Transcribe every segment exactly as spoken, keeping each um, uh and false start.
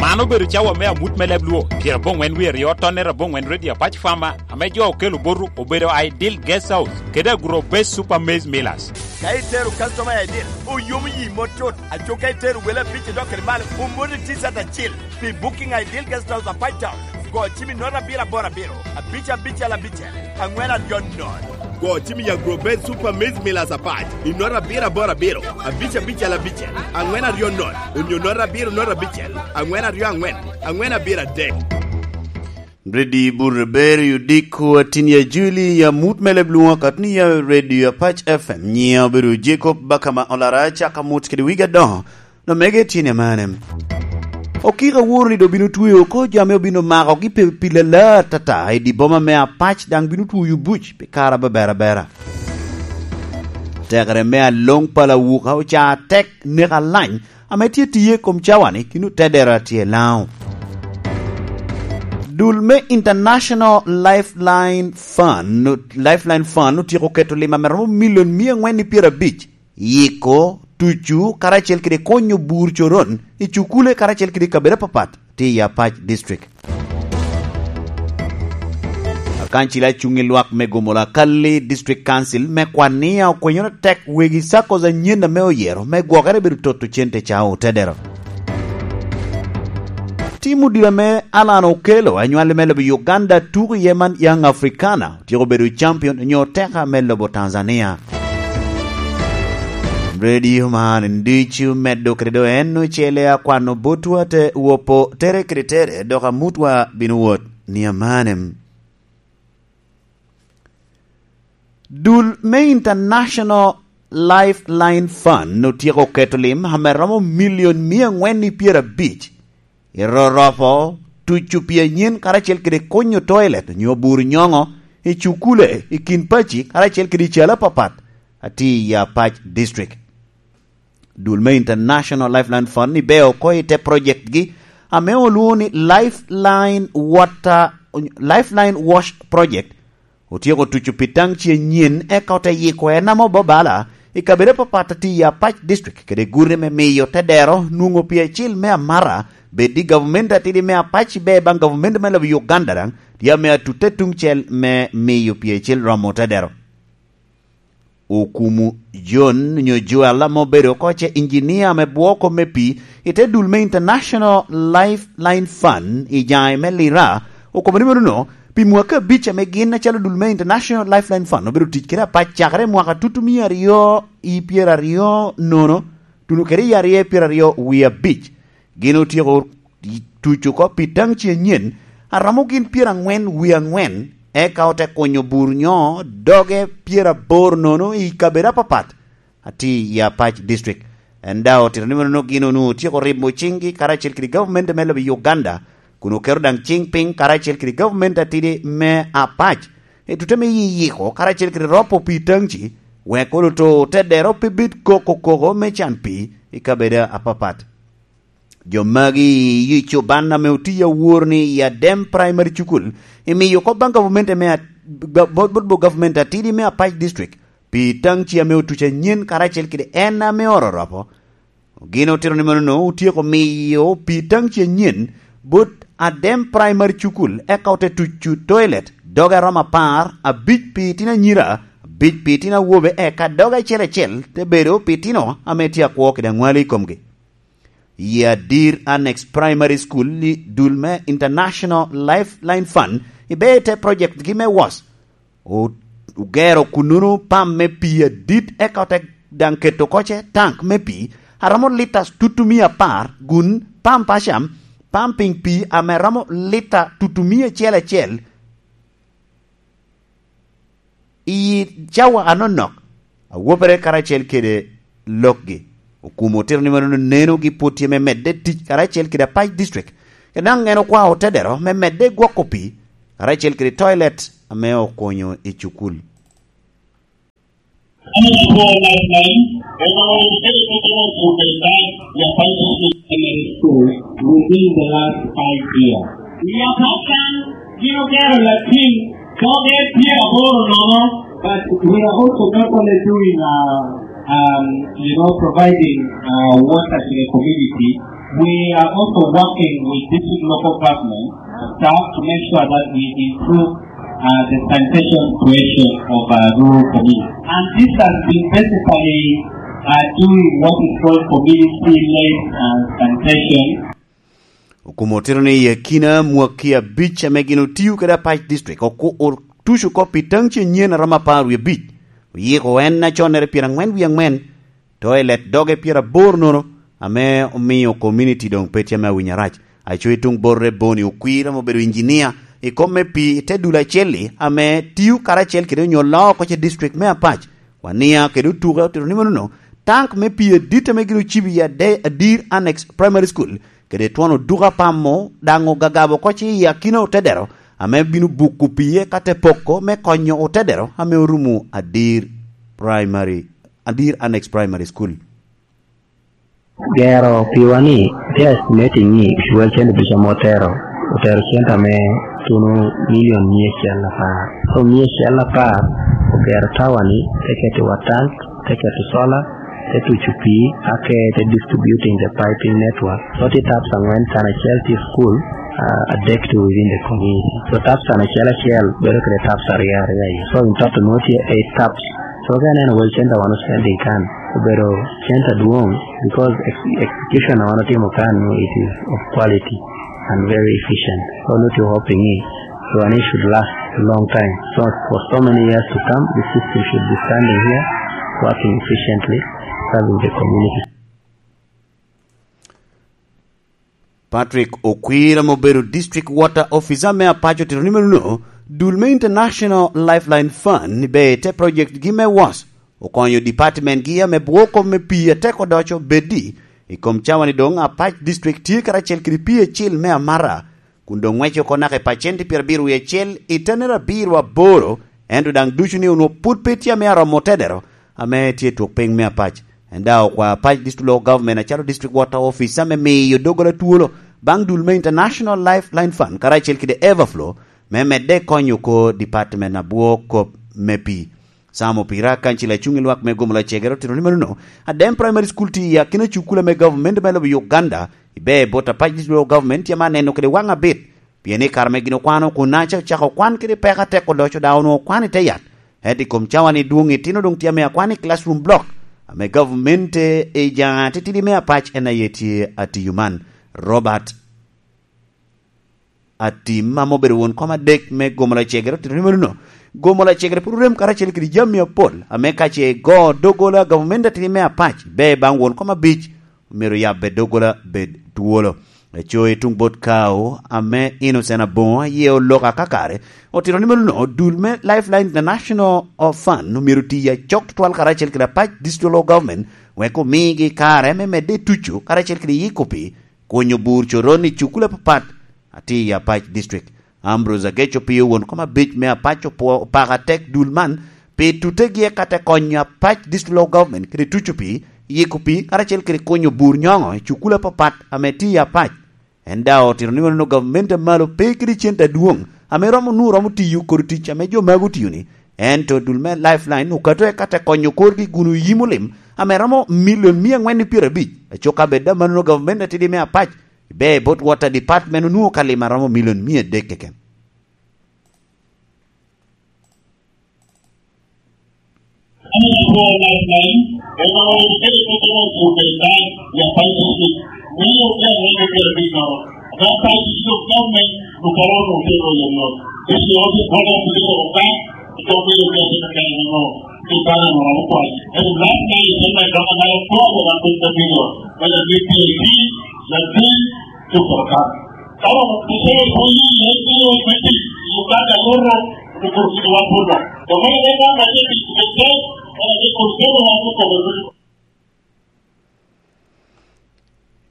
Man obedo cawa me amut me leb Lwo, pyerabongwen wie aryo, tonne abongwen, Radio Apac Farmer, ame jo okelo botu obedo Ideal Guest House kede Agro Base Super Maize Millers. Ka itero customer i Ideal, oyomo yi mot tut. Aco ka itero wele abic idok kede malo, omoni T-shirt acil. Pi booking a Ideal Guest House Apac Town, go cim i note abiro aboro abiro, abic abicel abicel, angwen aryo note. Go cim i Agro Base Super Maize Millers Apac i note abiro aboro abiro, abic abicel abicel, angwen aryo note, onyo note abiro note abicel, angwen aryo angwen, angwen abiro adek. Redi Buruberi Odiko, atin ya Juli, ya mut me leb Lwo, katni ya Radio Apac F M, nyiŋa obedo Jacob Bakama Olara, caka mut kede wigi adoŋo. Omege tyen amane. Okiko aworo ni doŋ bino tweyo oko jo ame obino makogi pe pi lalar atata i dye boma me Apac, daŋ bino tweyo buc pi kare abeber abera. Tekere me aloŋ pala wuka oca atek, nek alany ame tye tiye i kom cawani, kino tedera tye i Laŋo. Dul me International Lifeline Fund, Lifeline Fund otyeko keto lim ame romo milion mia angwen i pyerabic, yiko, tucu, karacel kede konyo bur coron i cukule karacel kede kabedo apapat tye i Apac District. Akancil acuŋ i lwak me Gomola Kalli District Council me Kwania okwenyoro tek wegi SACCOs anyen ame oyero me gwokere bedo toto cente ca otedero. Tim odilo ame Alan Okello, anywali me lobo Uganda, tuko iye man Young Africana, otyeko bedo champion onyo teka me lobo Tanzania. Radio man ducu meddo kede do en ocele akwano botwa te wopo tere kede tere, dok amutwa bino wot ni amanem. Dul me International Lifeline Fund otyeko keto lim ame romo milion mia angwen i pyerabic i roropo tucu pi anyen karacel kede konyo toilet onyo bur nyoŋo i cukule i kin paci karacel kede i calo apapat atye i Apac District. Dul me International Lifeline Fund ni beo oko i te project gi ame olwoŋo ni Lifeline Water, Lifeline Wash Project, otyeko tuco pi taŋci anyen, eka ote yiko en ame obabala i kabedo apapat atye i Apac District kede gure me miyo tedero nwoŋo pi acil me amata, bed i gavumenti atidi me Apac ibe baŋ gavumenti me lobo Uganda daŋ tye ame atutte tuŋcel me miyo pi acil romo tedero. Okumu John nyo Joel ame obedo oko ce injinia ame bwoko me pii i te dul me International Lifeline Fund i jaŋe me Lira, okobo ni menono, pi mwaka abic ame gin acalo dul me International Lifeline Fund obedo tic kede Apac cakere i mwaka tutumia aryo i pyeraryo nono, tuno kede i aryo i pyeraryo wie abic, gin otyeko tuco oko pi taŋci anyen, a romo gin pyerangwen wie angwen, eka ote kunyo bur nyo doge pyeraboro nono i kabedo apapat atye i Apac District. En daŋ otito ni menono gin onwoŋo otyeko ribo ciŋgi karacel kede gavumenti me lobo Uganda, kun oketo daŋ ciŋ piny karacel kede gavumenti atidi me Apac, i tute me yiyiko karacel kede ropo pi taŋci, wek oloto tedero pe bed koko koko me can pii i kabedo apapat. Jo magi i cuban ame otiyo awor ni i Adem Primary Cukul, imiyo oko baŋ gavumenti me at-, ga-, bot, bot, bot gavumenti atidi me Apac District, pi taŋci ame otuc anyen karacel kede en ame ororopo. Gin otito ni menono otyeko miyo pi taŋci anyen bot Adem Primary Cukul, eka ote tucu toilet, doge aromo apar, abic pi itino anyira, abic pi itino awobe, eka doge acel acel te bedo pi itino ame tye akwo kede aŋwali i komgi. I Adir Annex Primary School i dul me International Lifeline Fund, ibe i te project gi me was. O-, ogero kunnono pam me pii adit, eka ote daŋ keto oko ce tank me pii a romo lita tutumia apar, kun pam pacam, pumping pii ame romo lita tutumia acel acel. I cawa anonok, awopere karacel kede lokgi. Okumo otito ni mano neno gi pwod tye me medde tic karacel kede Apac District. Kede daŋ en okwao tedero me medde gwoko pii, karacel kede toilet ame okonyo i cukul. An apwoo Lifeline, And our educated people to the time, the five schools in the school within the last five years. We are not done, you know, there are things, so they fear about no, but we are also not only doing, uh, um, you know, providing, uh, water to the community. We are also working with district local government staff to make sure that we improve, uh, the sanitation situation of, uh, rural communities. And this has been basically, uh, doing what is called community-led, uh, sanitation. Okumo otito ni i akina mwaki abic ame gin otio kede Apac District, oku-, otuco oko pi taŋ ce nyen a romo apar wie abic, oyiko en aconnere pyerangwen wie angwen, to i let doge pyeraboro nono, ame omiyo komuniti doŋ pe tye ame awinyo arac. Aco i tuŋ bote, Boni Okwir ame obedo injinia i kom me pii i te dul acel-li, ame tio karacel kede onyo loo oko ce district me Apac, Wania kede Otuke, otito ni manono, tank me pii adit ame gin ocibo i Ade-, Adir Annex Primary School kede twon oduka pamo daŋ ogagabo oko ce i akina otedero, ame bino buko pii eka te poko me konyo otedero ame orumo Adir Primary, Adir Annex Primary School. Gero piwa ni, tye estimating ni World Center ducu ame otero, otero center me tuno milion mia acel apar. So mia acel apar ogero tower ni, te keto i wa tank, te keto solar, te tuco pii, ake te distributing the piping network. So tye taps angwen, can acel tye school, uh, adek to within the community. So taps can acel acel bedo kede taps aryo aryo aye. So in total nwoŋo tye eight taps. So ka ineno World Center wan spending kan, obedo center dwoŋ, because ex-, execution a wan otimo kan, no, it is of quality and very efficient. So not to hoping it, so and it should last a long time. So for so many years to come, the system should be standing here, working efficiently, serving the community. Patrick Okwir ame obedo District Water Officer me Apac otito ni menono, dul me International Lifeline Fund ni ber te project gi me was okonyo department gi ame bwoko me pii atek odoco beddi. I kom cawa ni doŋ Apac District tye karacel kede pii acil me amara, kun doŋ ŋwece oko naka i pacenti pyerabiro wie acel i tenere abiro aboro, ento daŋ ducu ni onwo pud pe tye ame aromo otedero ame tye i twok piny me Apac. En daŋ okwa Apac District Local Government acalo District Water Office ame miyo doggola twolo baŋ dul me International Lifeline Fund karacel kede Everflow me medde konyo oko department abwo kop me pii. Sam Opira, kancil acuŋ i lwak me Gomola Cegere, otito ni manono, Adem Primary School tye i akina cukula me government me lobo Uganda, ibe bot Apac District Local Government tye ame aneno kede waŋ abit, pien i kare ame gin okwano kun aca ocako kwan kede peko atek odoco daŋ onwoŋo kwan i te yat. Ento i kom cawa ni dwoŋ itino doŋ tye ame akwan i classroom block, ame government i jaŋa titidi me Apac en aye tye atiyo man. Robert Atim, ame obedo won kom adek me Gomola Cegere, otito ni manono, Gomola Cegere pwod orem karacel kede jami apol, ame ka ce igo doggola gavumenti atidi me Apac, ber baŋ won kom abic, myero yabbe doggola bed twolo. Eco i tuŋ bot Kao, ame Innocent Aboŋo, aye oloko akakare, otito ni manono, dul me Lifeline International Fund omyero ti acok tutwal karacel kede Apac District Local Government, wek omigi kare me medde i tuco karacel kede yiko pii, kunyo bur coron i cukul apapat atye i Apac District. Ambrose Agec Opio, won kom abic me Apac, opwo-, opako atek dul man pi tutegi eka te konyo Apac District Local Government kede tuco pii, yiko pii, karacel kede kunyo bur nyoŋo i cukul apapat ame tye i Apac. En daŋ otito ni oneno gavumenti a malo pe kede cente adwoŋ ame romo nwoŋo romo tiyo kodi tic ame jo magi otiyo-ni, ento dul me Lifeline okato eka te konyo korgi kun oyimo lim ame romo milion mia aŋwen i pyerabic. Acok ka bed daŋ manono, gavumenti atidi me Apac ibe bot Water Department onwoŋo ka lim a romo milion mia adek keken.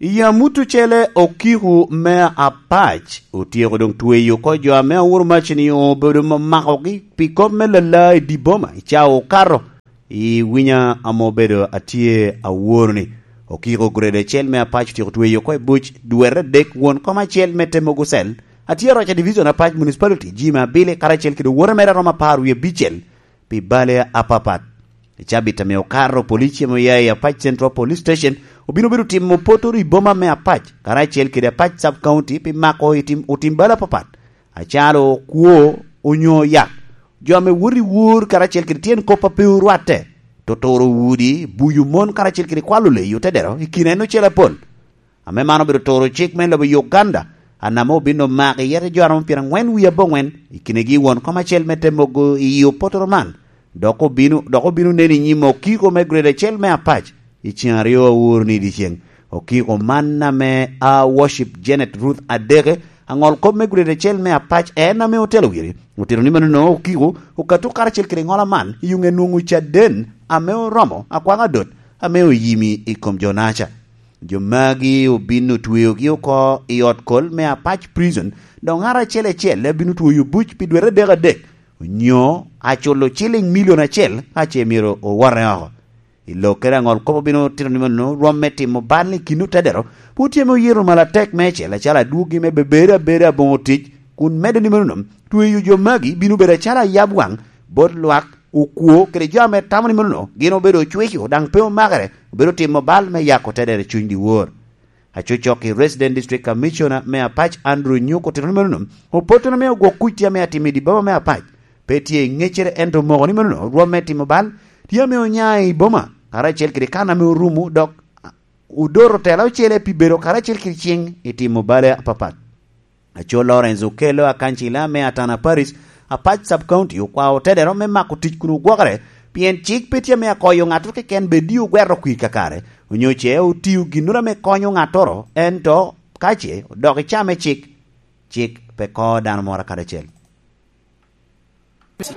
I amut ocele, okiko me Apac otyeko doŋ tweyo oko jo ame auro mac-ni obedo ma makogi pi kop me lala i dye boma i cawa okato. I winya ame obedo atye aworo ni, Okiko grade acel me Apac otyeko tweyo oko i buc dwete adek won kom acel me Temogo Cell, atye aroc a Division Apac Municipality, Jimmy Abili, karacel kede owote mere a romo apar wie abicel pi bale apapat. I cabit ame okato, police ame oya i Apac Central Police Station obino bedo timo potoro i boma me Apac, karacel kede Apac Sub County pi mako i tim, otim bale apapat, acalo kwo onyo yak, jo ame woto i wor karacel kede tyen kop a pe orwatte, totoro udi, buyo mon karacel kede kwalo leyi otedero i kin en ocele apol. Ame man obedo toro cik me lobo Uganda, anama obino mako iye te jo a romo pyerangwen wie abongwen, i kinegi won kom acel me te mogo i opotoro man, dok obino, dok obino nen i nyim okiko me grade acel me Apac i cen aryo aworo ni i dyeceŋ. Okiko man ame a Worship Janet Ruth Adeke, aŋol kop me grade acel me Apac, en ame otelo wiri, otito ni manono okiko okato karacel kede ŋola man i yuŋ enwoŋo caden ame oromo akwaŋ adot ame oyimi i kom jo-naca. Jo magi obin otweogi oko i ot kol me Apac Prison, dok ŋat acel acel abino tweyo buc pi dwete adek adek, onyo aculo ciliŋ milion acel ka ce myero owote oko. I lokkere aŋol kop obino tito ni mano rwom me timo bal i kin otedero, pwod tye ame oyeto malo atek meicel acalo adwogi me bebedo abeda aboŋo tic, kun medde ni mano tweyo jo magi bino bedo acalo ayab waŋ bot lwak, okwo kede jo ame tamo ni mano gin obedo ocweko daŋ pe omakere, obedo timo bal me yako otedero i cuny dyewor. Acocok i Resident District Commissioner me Apac Andrew Nyuko otito ni manono, opottono me ogwok kuc tye ame atimo i dye boma me Apac pe tye i ŋeccere, ento omoko ni manono rwom me timo bal tye ame onya i boma karacel kede kan ame orumo, dok odoto tela ocele pi bedo karacel kede ciŋ i timo bale apapat. Aco Lawrence Okello, akancila me Atana Parish, Apac Sub County, okwao otedero me mako tic kun ogwokere, pien cik pe tye ame akoyo ŋattoro keken bed ni ogwero kwir kakare, onyo ce otio ginnoro ame konyo ŋattoro, ento ka ce odok i caa me cik, cik pe ko dano moro kadi acel.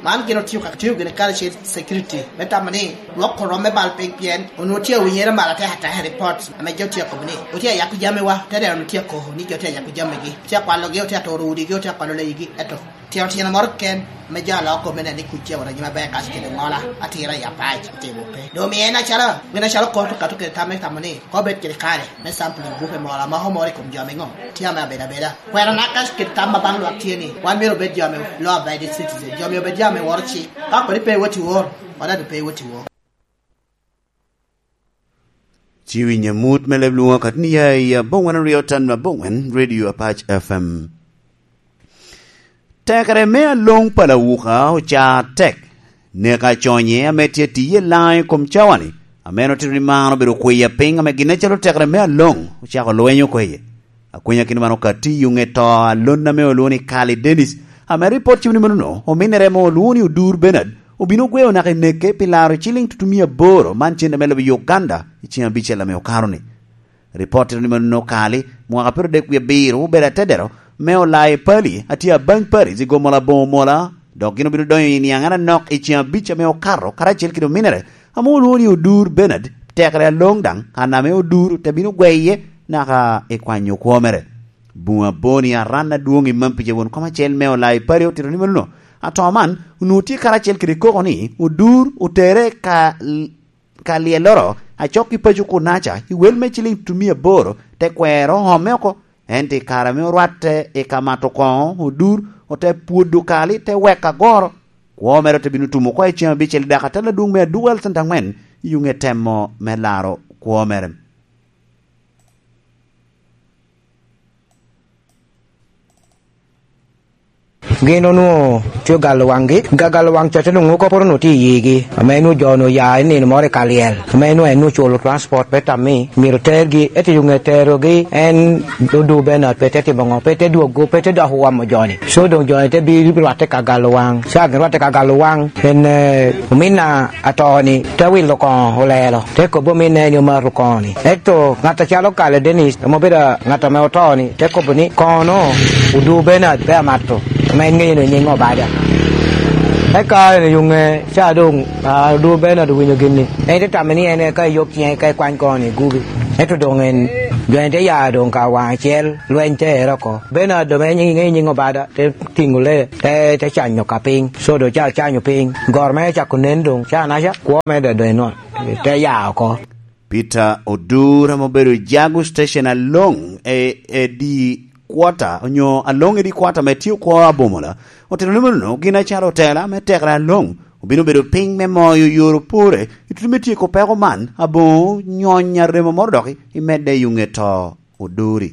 Man gin otio ka tio gini karacel security me tamo ni lwoko rwom me bal piny, pien onwoŋo tye awinyere malo atek ataka i report ame jo tye akobo ni otye ayako jamiwa, te deno onwoŋo tye akoko ni jo tye ayako jamigi, otye akwalogi, otye aturo udigi, otye akwalo leyigi, eto tino tino moro keken ame jo aloko me neno ni kuc tye awot anyim aber kac kede ŋola atira i Apac otimo pe. Doŋ omiyo en acalo, gin acalo kot okato kede tam me tamo ni ko bed kede kare me sampling bupe moro amako moro i kom jo miŋo tye ame abedo abeda. Kwena naka kit tam ma baŋ lwak tye ni, wan myero obed jo ame law abiding citizen, jo myero obed jo ame woro cik. Ka kodi pe iwot i wor, wan adu pe iwot i wor. Ci winyo mut me leb lwoŋo katni ya i aboŋwen aryo tan aboŋwen Radio Apac F M. Tekere me aloŋ pa Lawuka oca tek. Neka conye ame tye tiye laŋ i kom cawani, ame en otito ni man obedo kwiya piny ame gin acalo tekere me aloŋ ocako lweny oko iye. Akwenya kit man okatti i yuŋe to a lon ame olwoŋo ni Kali Dennis, ame ripot cimo ni manono ominere ame olwoŋo ni Odur Bernard obino gweo naka i neke pi laro ciliŋ tutumia aboro man cente me lobo Uganda i cen abicel ame okato-ni. Ripot tito ni manono Kali, mwaka pyero adek wie abiro, obedo atedero me Olai Pali, a tye a Bany Paris i gomo laboŋo mola, dok gin obino donyo i niaŋ anok i cen abic ame okato, karacel kede ominere, ame olwoŋo ni Odur Bernard, tekere aloŋ daŋ, an ame Odur te bino gweye naka i kwanyo kwo mere. Buŋ aboni aran adwoŋ i Mampija won kom acel me Olai Pali otito ni manono, ato man onwoŋo tye karacel kede koko ni Odur otere ka, ka lyelloro acok i paco kunaca i wel me ciliŋ tutumia aboro, te kwero oome oko. Ento i kare ame orwatte i ka mato koŋo, Odur ote pwodo Kali, te weko agoro. Kwo mere ote bino tumo oko i cen abicel i dako atal adwoŋ me Aduku Health Center aŋwen i yuŋe temo me laro kwo mere. Gin onwoŋo tye ogalo waŋgi, gagalo waŋ coco onwoŋo kop onwoŋo tye i yigi, ame onwoŋo jo onwoŋo oya i nino moro i ka lyel, ame onwoŋo en onwoŋo oculo transport pe tammi myero tergi, ento i ŋe terogi en Odur Bernard pe te timo ŋo, pe te dwogo, pe te dok owomo joni. So doŋ joni te bi rwatte ka galo waŋ. Ca gin rwatte ka galo waŋ, en, eh, ominna ato-ni te wilo koŋo olelo, te kobbi ominna en omato koŋo-ni. Ento ŋat acalo Kale Dennis, ame obedo ŋat ame oto-ni, te kobo ni, "Koŋo-nu, Odur Bernard pe amato, ame en ŋeyo ni nyiŋ Obada." Eka en oyuŋe, ca doŋ, ah, Odur Bernard owinyo gin-ni. En te tamme ni en eka eyok ciŋe, eka ekwany koŋo-ni egubi. Ento doŋ en Lweny te ya doŋ ka waŋ acel, lweny te ero oko. Beno a doŋ en nyiŋ, nyiŋ Obada, te tiŋo lee, te, te canyo ka piny. So doŋ ca ocanyo piny. Gor mere cako nen doŋ, ca naca, kwo mere doŋ, doŋ enwot, te ya oko. Peter Odur, ame obedo Jagu Station aloŋ e, e di kwota, onyo aloŋ e di kwota me tio kwo abomola, otito ni meno gin acalo otela me tekere aloŋ, obino bedo piny me moyo yoro pore i tutu me tyeko peko man, aboŋo nyony aremo moro doki i medde i ŋe to Oduri.